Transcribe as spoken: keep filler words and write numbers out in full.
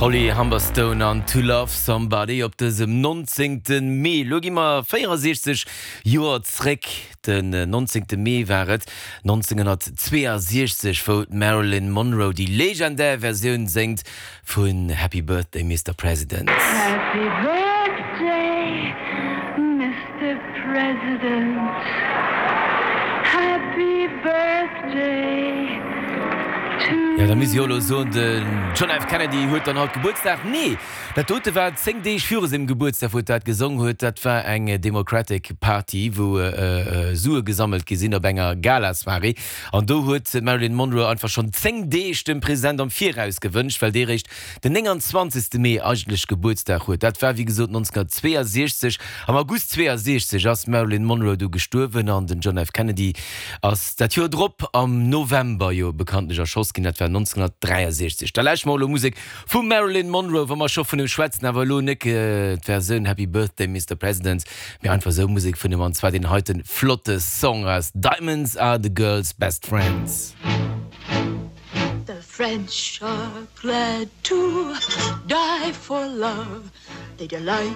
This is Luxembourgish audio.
Holly Humberstone an To Love Somebody op dësem nonzéngte Mee. Lo gi mer véierensechzeg Joer zréck, den nonzéngte Mee war et nonzénghonnertzweeasechzeg, wou d'Marilyn Monroe déi legendär Versioun séngt vun Happy Birthday Mister President. Happy Birthday Mister President, Happy Birthday to Jo, da misst ech jo elo soen, den John F. Kennedy huet dann haut Gebuertsdag. Nee, dat dote war zéng Deeg viru sengem Gebuertsdag, wou et dat gesong huet. Dat war eng Democratic Party, wou Sue gesammelt gi sinn op enger Gala-Soirée. An do huet d'Marilyn Monroe einfach schonn zéng Deeg dem President am Viraus gewënscht, well dee réischt den nénganzwanzegste Mee eigentlech Gebuertsdag huet. Dat war wéi gesot nonzénghonnertzweeasechzeg. Am August zweeasechzeg ass d'Marilyn Monroe du gestuerwen an den John F. Kennedy ass dat Joer drop am November jo bekanntlech erschoss ginn. Dat war nonzénghonnertdräiasechzeg. Da lauschteren mer elo Musek vum Marilyn Monroe, wa mer scho vun him schwätzen, awer elo net d'Versioun Happy Birthday Mister President, mee einfach esou Musek vun him, an zwar deen heiten flotte Song aus Diamonds Are the Girl's Best Friends. The French are glad to die for love. They delight